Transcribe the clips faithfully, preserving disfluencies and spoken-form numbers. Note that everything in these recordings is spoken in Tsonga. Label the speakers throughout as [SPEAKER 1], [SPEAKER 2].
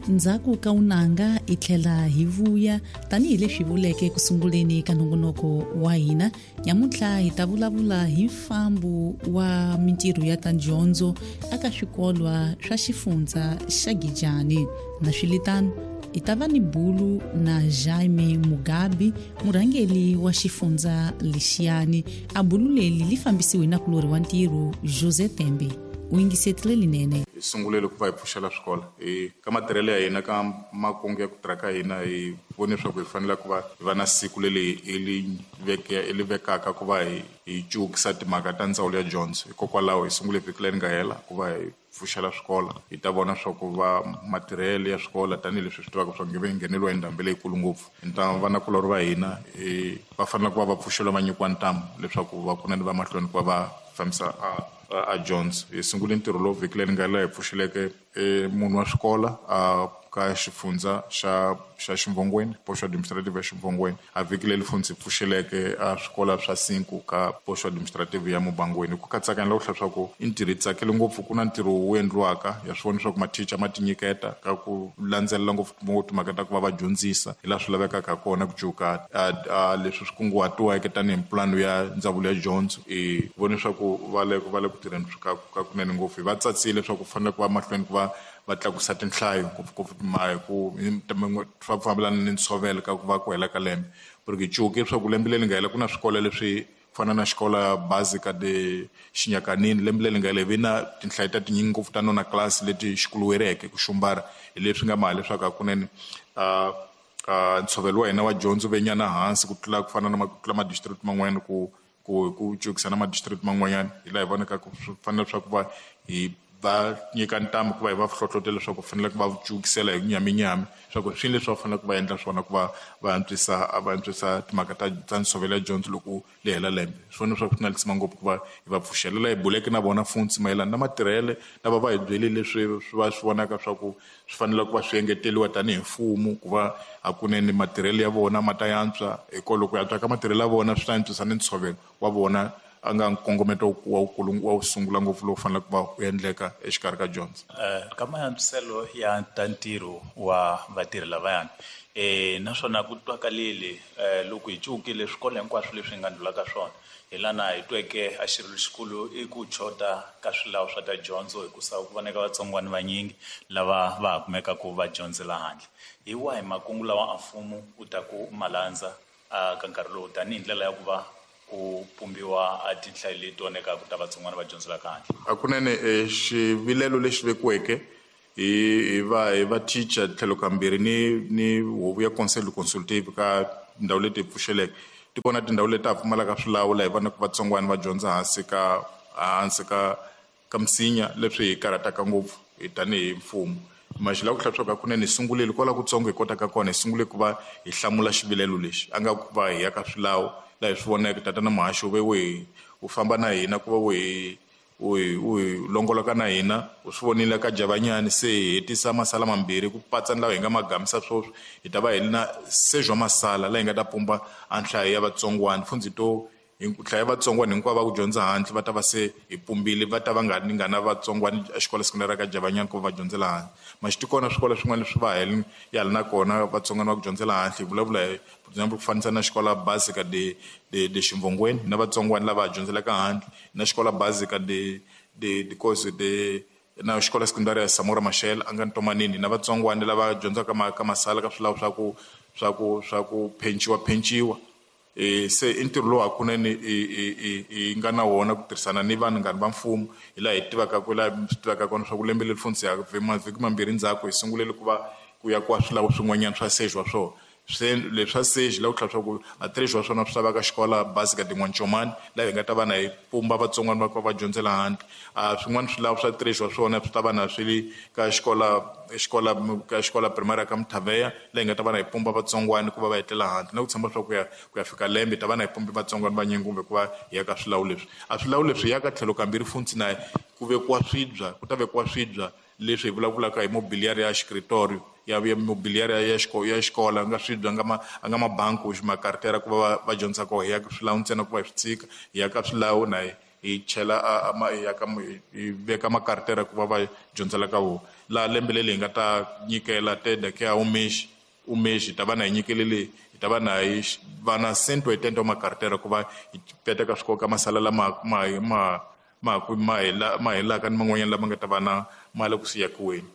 [SPEAKER 1] Ndzhaku ka unanga hi tlhela hi vuya tanihileswi vuleke ku sunguleni ka nongonoko wa hina. Nyamuntlha hi ta vulavula hi mfambo wa mintirho ya ta dyondzo eka swikolwa swa xifundza xa Gijani. Na swilitano hi ta va ni bulu na Jaime Mugabe, murhangeri wa xifundza lexiyani. A bulu leri li fambisiwe na kulori wa ntirho José Tembe. U yingisetile linene.
[SPEAKER 2] Hi sungulile ku va hi pfuxela swikolo hi ka matirhelo ya hina ka makungu ya ku tirha ka hina, hi vone leswaku hi fanele ku va hi va na siku leri hi li veke hi li vekaka ku va hi hi cukisa timhaka ta ndzawulo ya dyondzo. Hikokwalaho hi sungule vhiki leri nga hela ku va hi pfuxela swikolo, hi ta vona swa ku va matirhelo ya swikolo tanihileswi swi tivaka swa nge ngheneliwa hi ndhambi leyikulu ngopfu. Hi vanakulorhi va hina va fanele ku va va pfuxeliwa va nyikiwa ntamu leswaku va kunene va mahlweni ku va va fambisa a a dyondzo. Hi sungule ntirho lowu vhiki leri nga hela hi pfuxeleke munhu wa swikola a ka xifundza xa xa Ximvongweni, poxo administrative ya Ximvongweni. A vhiki leri funtsi hi pfuxeleke a swikola swa cinco ka poxo administrative ya Mubangweni. Ku katsakanya loko hlaya swa ku i ntirho hi tsakele ngopfu, ku na ntirho wu endliwaka ya swi vona leswaku mathicha ma tinyiketa ka ku landzelela ngopfu timhaka ta ku va va dyondzisa hi laha swi lavekaka ha kona ku cuka a leswi swi kunguhatiweke tanihi pulani ya ndzawulo ya dyondzo. Hi vone leswaku va le va le ku tirheni ka ka kunene ngopfu. Hi va tsatsile leswaku ku fanele ku va mahlweni ku va va tlakusa tinhlayo ngopfungopfu hi ku swa fambelana ni ntshovelo ka ku va ku hela ka lembe. Porque cuki leswaku lembe leri nga hela ku na swikolo leswi fana na xikolo basic de Xinyakanini, lembe leri nga hela hi ve na tinhlayo ta tinyingi ngopfu ta nona class leti xikuluwereke ku xumbara, hi leswi nga maha leswaku hakunene ntshovelo wa hina wa dyondzo ve nyana hansi ku tlula ku fana na ku tlula ma-district man'wanyana ku ku ku cukisa na ma-district man'wanyana. Hi laha hi vonaka ku swi fanele leswaku va hi va nyika ntamu ku va hi va hlohlotela leswaku ku fanele ku va cukisela hi nyaminyami leswaku swi leswi va faneleke va endla swona ku va va antswisa va antswisa timhaka ta ta ntshovelo ya dyondzo loko li hela lembe. Swi vona leswaku swi na lisima ngopfu ku va hi va pfuxela. Laha hi buleke na vona funtsi mayelana na matirhele lava va hi byele leswi swi va swi vonaka swa ku swi fanele ku va swi engeteriwa tanihi mfumo ku va hakunene matirhelo ya vona ma ta yantswa. Hikokwalaho ku antswa ka matirhelo ya vona swi ta antswisa ni ntshovelo wa vona a nga nkongometo wa wukulu wa wu sungula ngopfu lowu faneleke ku va wu endleka exikarhi ka dyondzo.
[SPEAKER 3] Ka maantswiselo ya ta ntirho wa vatirhi lavayani eh naswona ku twakalile loko hi cukile swikolo hinkwaswo leswi hi nga ndlulaka swona, hi lana hi tweke a xirilo xikulu i ku chota ka swilawu swa ta dyondzo hikusa ku voneka vatsongwana vanyingi lava va ha kumekaka va dyondzela handle. Hi wahi makungu lawa a mfumo wu ta ku malandza ka nkarhi lowu tanihi ndlela ya ku va ku pumbiwa a tinhlayo leti vonekaka ta vatsongwana va dyondzelaka handle?
[SPEAKER 2] Hakunene xivilelo lexi vekiweke hi hi va hi va teacher tlhelo kambirhi ni ni huvo ya conseil consultative ka tindhawu leti hi pfuxeleke, ti kona tindhawu leti ha pfumalaka swilawu laha hi vonaka vatsongwana va dyondza hansi ka hansi ka ka misinya, leswi hi karhataka ngopfu hi tanihi mfumo. Maxi la ku hlaya swa ku hakunene hi sungulile kwala kutsongo hi kotaka kona, hi sungule ku va hi hlamula xivilelo lexi a nga ku va hi ya ka swilawu laha hi swi voneke tatana Muhaxi wu ve wu hi wu famba na hina ku va wu hi wu hi wu hi longoloka na hina, u swi vonile ka Javanyani se hi hetisa masala mambirhi ku patsa ni lawa hi nga ma gamisa sweswi, hi ta va hi na sejwa masala laha hi nga ta pumba a nhlayo ya vatsongwana funtsi to nhlayo ya vatsongwana hinkwavo va ku dyondza handle va ta va se hi pumbile, va ta va nga ni nga na vatsongwana exikolo sekondari ka Javanyani ku va va dyondzela handle. Maxi ti kona swikolo swin'wana leswi va ha ya na kona vatsongwana va ku dyondzela handle, hi vulavula hi for example ku fanisa na xikolo basic de de de Ximvongweni na vatsongwana lava dyondzelaka handle, na xikolo basic de de de course de na xikolo sekondari ya Samora Machel a nga Ntomanini na vatsongwana lava dyondzaka ka masala ka swilawu swa ku swa ku swa ku phenciwa phenciwa. E se i ntirho lowu hakunene hi nga na wona ku tirhisana ni vanhu ngani va mfumo, hi laha hi tivaka ku laha swi tivaka kona swa ku lembe leri funtsi ya mavhiki mambirhi ndzhaku hi sungulele ku va ku ya kwa swilawu swin'wanyana swa sejwa swona. Se leswi swa seji la ku tlhela swa ku a tirhisiwa swona swi lavaka xikolo basic de N'wancomani laha hi nga ta va na hi pumba vatsongwana va ku va dyondzela handle. A swin'wana swilawu swa tirhisiwa swona swi ta va na swi le ka xikolo xikolo ka xikolo primary ka Mthaveya laha hi nga ta va na hi pumba vatsongwana ku va va etlela handle, na ku tshemba swa ku ya ku ya fika lembe hi ta va na hi pumba vatsongwana vanyingi kumbe ku va hi ya ka swilawu leswi. A swilawu leswi ya ka tlhelo kambirhi funtsi na ku vekiwa swibya, ku ta vekiwa swibya leswi hi vulavulaka hi mobiliary ya xikritorio ya ya mobiliary ya xikolo ya xikolo nga swibya nga ma nga mabanku makartera ku va va dyondza kona, hi ya ka swilawu ntsena ku va hi swi tshika, hi ya ka swilawu na hi hi chela a ma ya ka hi veka makartera ku va va dyondzela ka wona. Laha lembe leri hi nga ta nyikela tenda ke a umeshi umeshi ta va na hi nyikele leyi hi ta va na hi va na cento oitenta wa makartera ku va hi peta ka swikolo ka masala lama ma ma ma ku ma hela ma helaka ni man'wanyana lama nga ta va na ma le ku siyakiweni.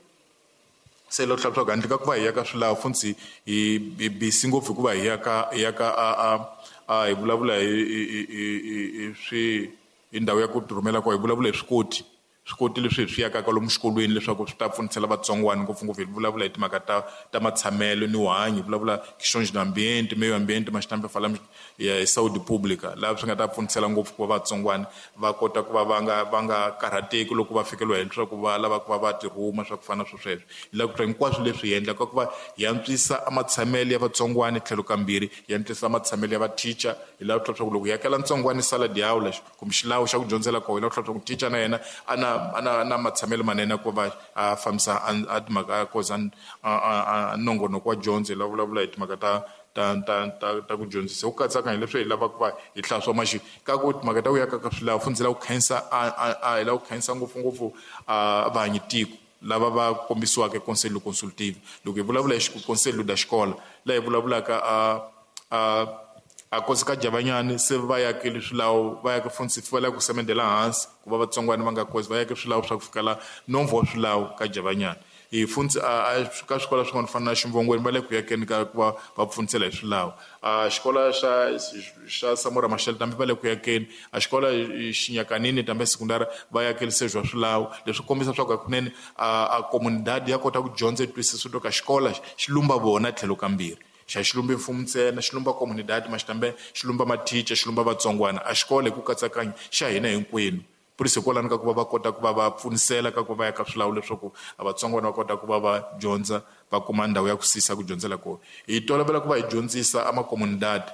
[SPEAKER 2] Se loko tlhela swa handle ka ku va hi ya ka swilawu funtsi hi hi busy ngopfu hikuva hi ya ka hi ya ka a a a hi vulavula hi hi hi swi hi ndhawu ya ku tirhumela kwa hi vulavula hi swikoti swikoti leswi hi swi yakaka lomu xikolweni leswaku swi ta pfunisela vatsongwana ngopfungopfu hi vulavula hi timhaka ta ta matshamelo ni vuhanyi, hi vulavula questões de ambiente, meio ambiente, mas também falamos ya saúde pública, laha swi nga ta pfunisela ngopfu ku va vatsongwana va kota ku va va nga va nga karhateki loko va fikeliwa hi leswaku va lava ku va va tirhuma swa ku fana na swo sweswo. Hi lava ku hinkwaswo leswi hi endlaka ku va hi antswisa amatshamelo ya vatsongwana tlhelo kambirhi, hi antswisa matshamelo ya vateacher. Hi lava ku leswaku loko hi yakela ntsongwana salad ya lexi kumbe xilawu xa ku dyondzela kona, hi lava ku leswaku teacher na yena a na ana na matshamelo manene ku va a fambisa a timhaka koza a nongonoko wa dyondzo. Hi lava vulavula hi timhaka ta ta ta ta ta ku dyondzisa ku katsakanya leswi hi lavaka ku va hi hlaswa maxi ka ku timhaka ta ku yaka ka swilawu funtsi lava ku khensa a hi lava ku khensa ngopfungopfu a vahanyi tiko lava va kombisiwaka conselho consultivo. Loko hi vulavula hi conselho da xikola laha hi vulavulaka a a a kosi ka Javanyani se va yakele swilawu va yake funtsi va lava ku semendela hansi ku va vatsongwana va nga kosi va yake swilawu swa ku fikela nomvo wa swilawu ka Javanyani. Hi funtsi a ka swikolo swin'wana fana na Ximvongweni va le ku yakeni ka ku va va pfunisela hi swilawu. A xikolo xa xa Samora Machel tambe va le ku yakeni, a xikolo Xinyakanini tambe sekundari va yakelise swa swilawu. Leswi kombisa swa ku hakunene a comunidade ya kota ku dyondza yi twisisa ka xikolo xi lumba vona tlhelo kambirhi, xa xilumba mfumo ntsena, xi lumba comunidade mas também xi lumba mathicha, xi lumba vatsongwana. A xikolo hi ku katsakanya xa hina hinkwenu. Por isso hikwalano ka ku va va kota ku va va pfunisela ka ku va ya ka swilawu leswaku a vatsongwana va kota ku va va dyondza va kuma ndhawu ya ku sisa ku dyondzela kona. Hi tolovela ku va hi dyondzisa amacomunidade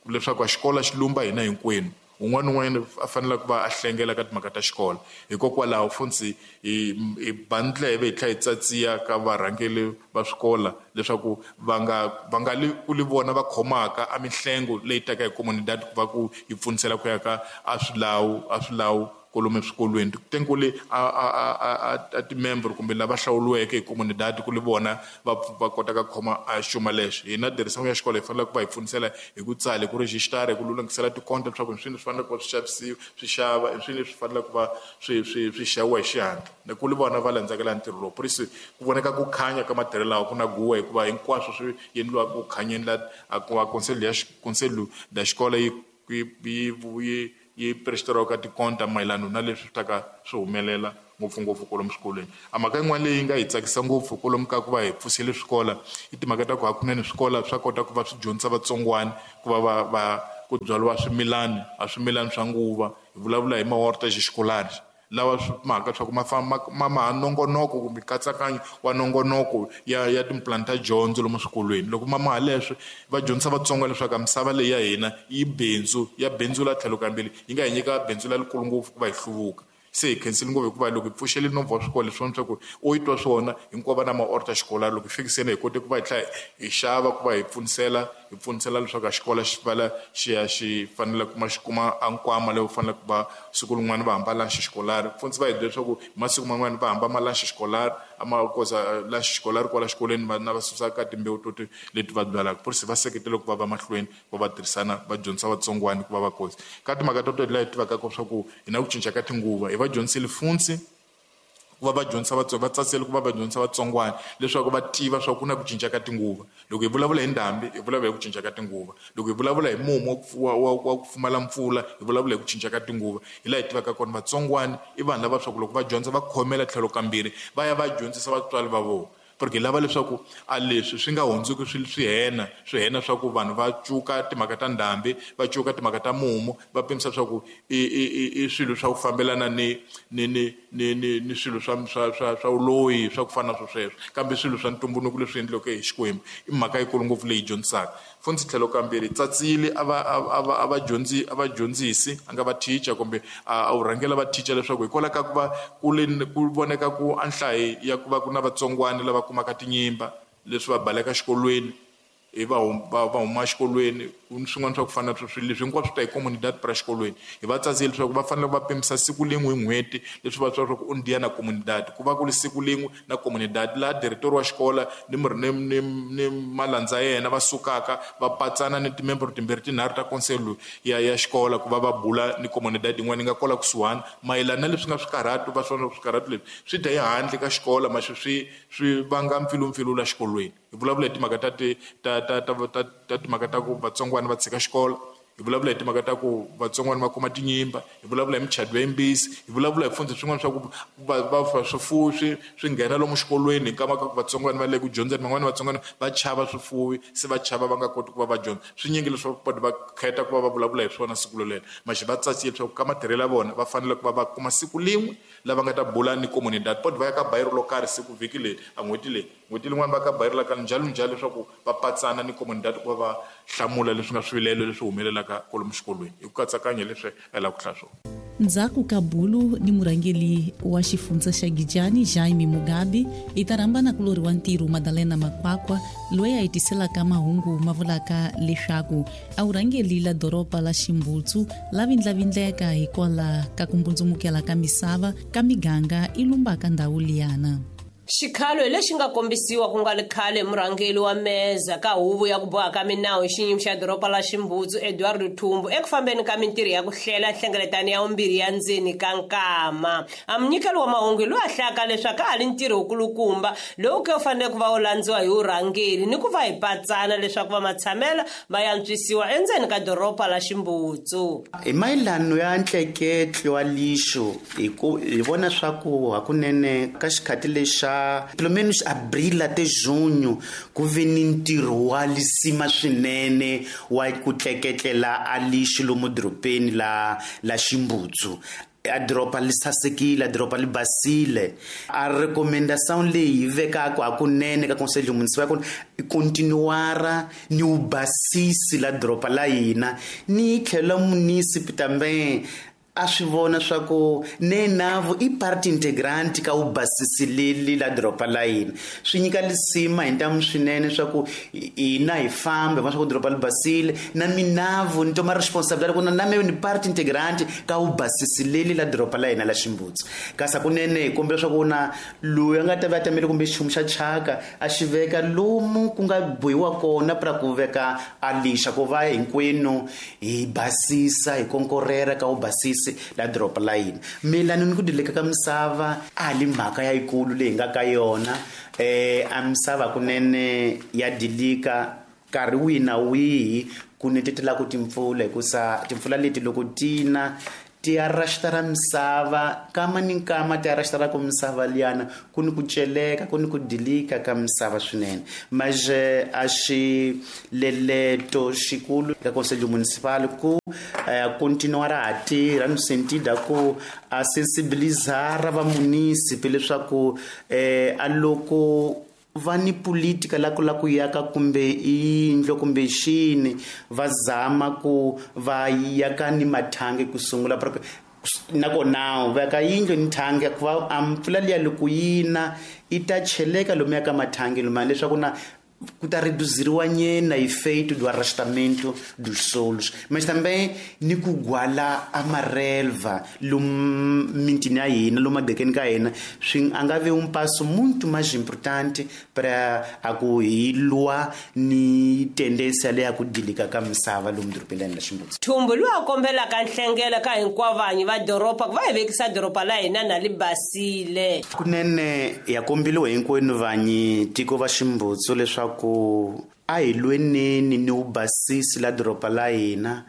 [SPEAKER 2] leswaku a xikolo xi lumba hina hinkwenu, un'wana na un'wana a fanele ku va a hlengela ka timhaka ta xikolo. Hikokwalaho funtsi hi hi ba ndleve hi tlhela hi tsatsiya ka varhangeri va swikolo leswaku va nga va nga li ku li vona va khomaka a mihlengo leyi taka hi comunidade ku va ku yi pfunisela ku ya ka a swilawu a swilawu kolomu eswikolweni. Tem ku li a a a a timembro kumbe lava hlawuriweke hi comunidade ku li vona va va kotaka ku khoma a xuma lexo. Hina dirisamo ya xikolo hi fanele ku va hi pfunisela hi ku tsala, hi ku rejistara, hi ku lulamisela tikonta leswaku swilo leswi faneleke ku va swi xavisiwa swi xava, i swilo leswi faneleke ku va swi swi swi xaviwa hi xihatla. Na ku li vona va landzakela ntirho lowu. Por isso ku voneka ku khanya ka matirhelo lawa ku na guwa hikuva hinkwaswo swi endliwa ku khanyeni la a ku va conselho ya conselho da xikolo yi yi yi yi prestariwa ka tikonta mayelana na leswi swi taka swi humelela ngopfungopfu kwalomu swikolweni. A mhaka yin'wana leyi nga hi tsakisa ngopfu kwalomu ka ku va hi pfusile swikolo i timhaka ta ku hakunene swikolo swa kota ku va swi dyondzisa vatsongwana ku va va va ku byariwa swimilani a swimilani swa nguva. Hi vulavula hi mahorta xikolari lawa swi mhaka swa ku ma famba ma ma nongonoko kumbe nkatsakanyo wa nongonoko ya ya timplan ta dyondzo lomu swikolweni. Loko ma maha leswi va dyondzisa Vatsonga leswaku misava leyi ya hina yi bindzu ya bindzu la tlhelo kambirhi yi nga hi nyika bindzu lerikulu ngopfu ku va hi hluvuka. Se hi khensile ngopfu hikuva loko hi pfuxele nomvo wa swikolo leswi swa ku u yi twa swona hinkwavo va na maorta xikolari loko hi fikiseni hi kote ku va hi tlhela hi xava ku va hi pfunisela hi pfunisela leswaku a xikolo xi vala xi ya xi fanele kuma xi kuma a nkwama lowu faneleke ku va siku rin'wana va hamba lunch xikolari. Pfunisi va hi byela leswaku hi masiku man'wana va hamba ma lunch xikolari a ma koza lunch xikolari kwala xikolweni va na va susa ka timbewu to leti va byalaka. Por isso va seketela ku va va mahlweni va va tirhisana va dyondzisa vatsongwana ku va va koza ka timhaka to to laha hi tivaka swa ku hi na ku cinca ka tinguva. Hi va dyondzisile funtsi ku va va dyondzisa vatsonga, va tsasele ku va va dyondzisa vatsongwana leswaku va tiva swa ku na ku cinca ka tinguva. Loko hi vulavula hi ndhambi hi vulavula hi ku cinca ka tinguva, loko hi vulavula hi mumu wa wa wa ku pfumala mpfula hi vulavula hi ku cinca ka tinguva. Hi laha hi tivaka kona vatsongwana i vanhu lava swa ku loko va dyondza va khomela tlhelo kambirhi va ya va dyondzisa vatswari va vona. Porque hi lava leswaku a leswi swi nga hundzuki swi swi hena swi hena swa ku vanhu va cuka timhaka ta ndhambi va cuka timhaka ta mumu va pimisa swa ku i i i swilo swa ku fambelana ni ni ni ni ni ni swilo swa swa swa swa vuloyi swa ku fana na swo sweswo, kambe swilo swa ntumbuluko leswi endliweke hi Xikwembu i mhaka yikulu ngopfu leyi dyondzisaka. Funtsi tlhelo kambirhi tsatsile a va a va a va dyondzi a va dyondzisi a nga va teacher kumbe a wu rhangela va teacher leswaku hikwalaho ka ku va ku le ku voneka ku a nhlayo ya ku va ku na vatsongwana lava kumaka tinyimba leswi va baleka xikolweni hi va va huma exikolweni swin'wana swa ku fana na swilo leswi hinkwaswo ta hi comunidad para xikolweni hi va tsazile leswaku va fanele va pimisa siku lin'we hi n'hweti leswi va swa ku un dia na comunidad ku va ku ri siku lin'we na comunidad laha diretori wa xikola ni ni ni ni malandza ya yena va sukaka va patsana ni timembro timbirhi tinharhu ta konselo ya ya xikola ku va va bula ni comunidad yin'wana yi nga kwala kusuhani mayelana na leswi nga swikarhatu va swona swikarhatu leswi swi dya ehandle ka xikola maxi swi swi vanga mpfilumpfilu la xikolweni hi vulavula hi timhaka ta ti ta ta ta ta ta timhaka ta ku vatsongwana va tshika xikolo hi vulavula hi timhaka ta ku vatsongwana va kuma tinyimba hi vulavula hi michado ya yimbisi hi vulavula hi pfundza swin'wana swa ku va va swifuwi swi swi nghena lomu xikolweni hi nkama ka ku vatsongwana va le ku dyondzeni van'wana vatsongwana va chava swifuwi se va chava va nga koti ku va va dyondza swinyingi leswi va va khetha ku va va vulavula hi swona siku lolelo maxi va tsakile leswaku ka matirhelo ya vona va fanele ku va va kuma siku lin'we lava nga ta bula ni comunidad pot va ya ka bayiro lo karhi siku vhiki leri a n'hweti leyi n'hweti lin'wana va ka bayiro la ka njalo njalo leswaku va patsana ni comunidad ku va va hlamula leswi nga swivilelo leswi humelelaka kwalomu xikolweni hi ku katsakanya leswi a lava ku hlaya swona.
[SPEAKER 1] Ndzhaku ka bulu ni murhangeri wa xifundza xa Gijani Jaime Mugabe hi ta rhamba na kulori wa ntirho Madalena Makwakwa loyi a hi tiselaka mahungu ma vulaka leswaku a vurhangeri la doroba la Ximbutsu la vindlavindleka hikwalaho ka ku mbundzumukela ka misava ka miganga i lumbaka ndhawu liyana.
[SPEAKER 4] Xikhalo lexi nga kombisiwa ku nga ri khale murhangeri wa meza ka huvo ya ku boha ka minawu hi xiyimo xa doroba la Ximbutsu Eduardo Thumbu eku fambeni ka mintirho ya ku hlela nhlengeletano ya vumbirhi ya ndzeni ka nkama. A munyikeli wa mahungu loyi a hlayaka leswaku a ha ri ntirho wukulukumba lowu ke wu fanele ku va wu landziwa hi vurhangeri ni ku va hi patsana leswaku va matshamela va yantswisiwa endzeni ka doroba la Ximbutsu.
[SPEAKER 5] Hi mayelano ya ntleketlo wa lixo hi ku hi vona swa ku hakunene ka xikhati lexa pelo menos abril até junho ku ve ni ntirho wa lisima swinene wa ku tleketlela a lixo lomu dorobeni la la Ximbutsu. A doroba li sasekile, a doroba li basile. A recomendação leyi yi vekaka hakunene ka conselho municipal ku i continuara ni u basisi la doroba la hina ni tlhela municipal também a swi vona swa ku ne navo i parte integrante ka u basisileli la doroba la hina swi nyika lisima hi ntamu swinene swa ku hina hi fambe va swa ku doroba li basile na minavo ni toma responsabilidade ku na me ni parte integrante ka u basisileli la doroba la hina la Ximbutsu kasi hakunene hi kombela swa ku na loyi a nga ta va a tamele kumbe xichumu xa chaka a xi veka lomu ku nga bohiwa kona pra ku veka a lixa ku va hinkwenu hi basisa hi konkorera ka u basisa la doroba la hina. Mayelana ni ku dileka ka misava a li mhaka ya yikulu leyi nga ka yona eh a misava kunene ya dilika nkarhi wihi na wihi ku netetelaku timpfula hikusa timpfula leti loko tina ti arrastara misava kama ni nkama ti arrastara ku misava liyana ku ni ku celeka ku ni ku dilika ka misava swinene mas a xileleto xikulu ka conselho municipal ku eh, continuar a tirha no sentido ku a sensibilizar va municipal leswaku eh, a loko va ni politika la ku la ku yaka kumbe yindlu kumbe xini va zama ku va yaka ni mathangi ku sungula nakona va ka yindlu ni thangi ku va a mpfula liya loko yina i ta cheleka lomu ya ka mathangi loma leswaku na ku ta reduziriwa nyena efeito do arrastamento dos solos, mas também ni ku gwala a marelva lomu mintini ya hina lomu madekeni ka hina swi a nga ve um passo muito mais importante para a ku hi lwa ni tendência leya ku dilika ka misava lomu dorobeni la Ximbutsu.
[SPEAKER 4] Thumbu loyi a kombelaka nhlengelo ka hinkwavo vanhu va doroba ku va hi vekisa doroba la hina na li basile.
[SPEAKER 5] Kunene ya kombiliwe hinkwenu vanyi tiko va Ximbutsu leswaku ku a hi lweneni ni u basisi la doroba la hina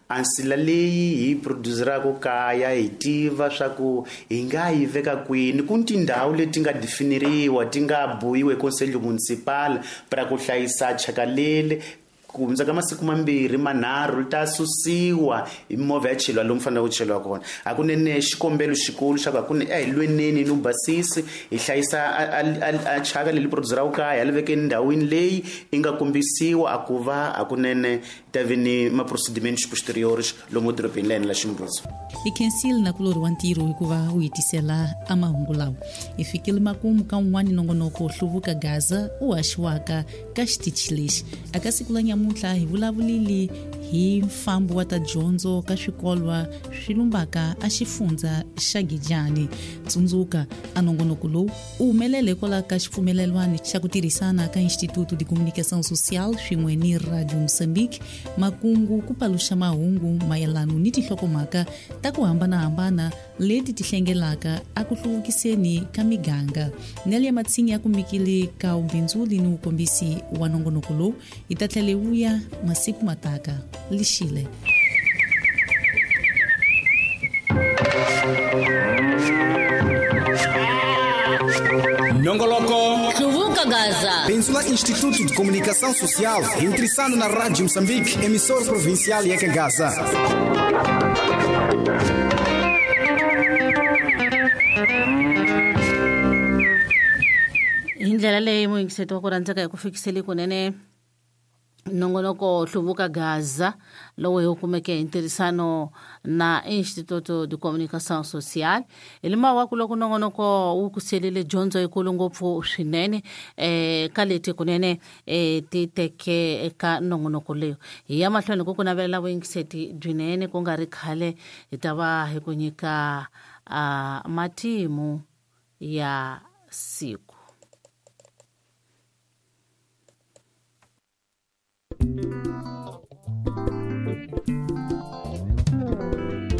[SPEAKER 5] a nsila leyi hi produceraka kaya hi tiva swa ku hi nga yi veka kwini ku ni tindhawu leti nga definiriwa ti nga bohiwa hi conselho municipal para ku hlayisa chaka leli ku hundza ka masiku mambirhi manharhu ta susiwa hi mimovha ya cheliwa lomu faneleke ku cheliwa kona. Hakunene xikombelo xikulu xa ku hakunene a hi lweneni ni basisi hi hlayisa a chaka leli producer ra kaya li vekeni ndhawini leyi yi nga kombisiwa a ku va hakunene ta vi ni ma-procediments posteriores lomu dorobeni la hina la Ximundzuku.
[SPEAKER 1] Hi khensile na kulorhi wa ntirho hikuva wu hi tisela a mahungu lawa. Hi fikile makumu ka un'wana nongonoko Hluvuka Gaza u haxiwaka ka xitichi lexi. Aka siku la nyamuntlha hi vulavulile hi mfambo wa ta dyondzo ka swikolwa swi lumbaka a xifundza xa Gijani. Tsundzuka a nongonoko lowu u humelele kwala ka xipfumelelwano xa ku tirhisana ka Instituto de Comunicação Social swin'we ni Radio Moçambique, makungu ku paluxa mahungu mayelano ni tinhlokomhaka ta ku hambanahambana leti ti hlengelaka a ku hluvukiseni ka miganga. Nelia Matsinyi ya kumikile ka ubindzuli ni ukombisi wa nongonoko lowu. Hi ta tlhela hi vuya masiku mataka. Lixile.
[SPEAKER 6] Nongoloko
[SPEAKER 7] Hluvuka Gaza.
[SPEAKER 6] Benzula Instituto de Comunicação Social, intressando na Rádio Moçambique, emissora provincial Eka Gaza.
[SPEAKER 7] Hi ndlela leyi muyingiseti wa ku rhandzeka hi ku fikiseli kunene nongonoko Hluvuka Gaza lowu hi wu kumeke hi ntirhisano na Instituto de Comunicação Social. Hi limawaku loko nongonoko wu ku selile dyondzo yikulu ngopfu swinene um ka leti kunene um ti teke eka nongonoko leyo. Hi ya mahlweni ku ku navelela vuyingiseti byinene, ku nga ri khale hi ta va hi ku nyika uh, matimu ya siku.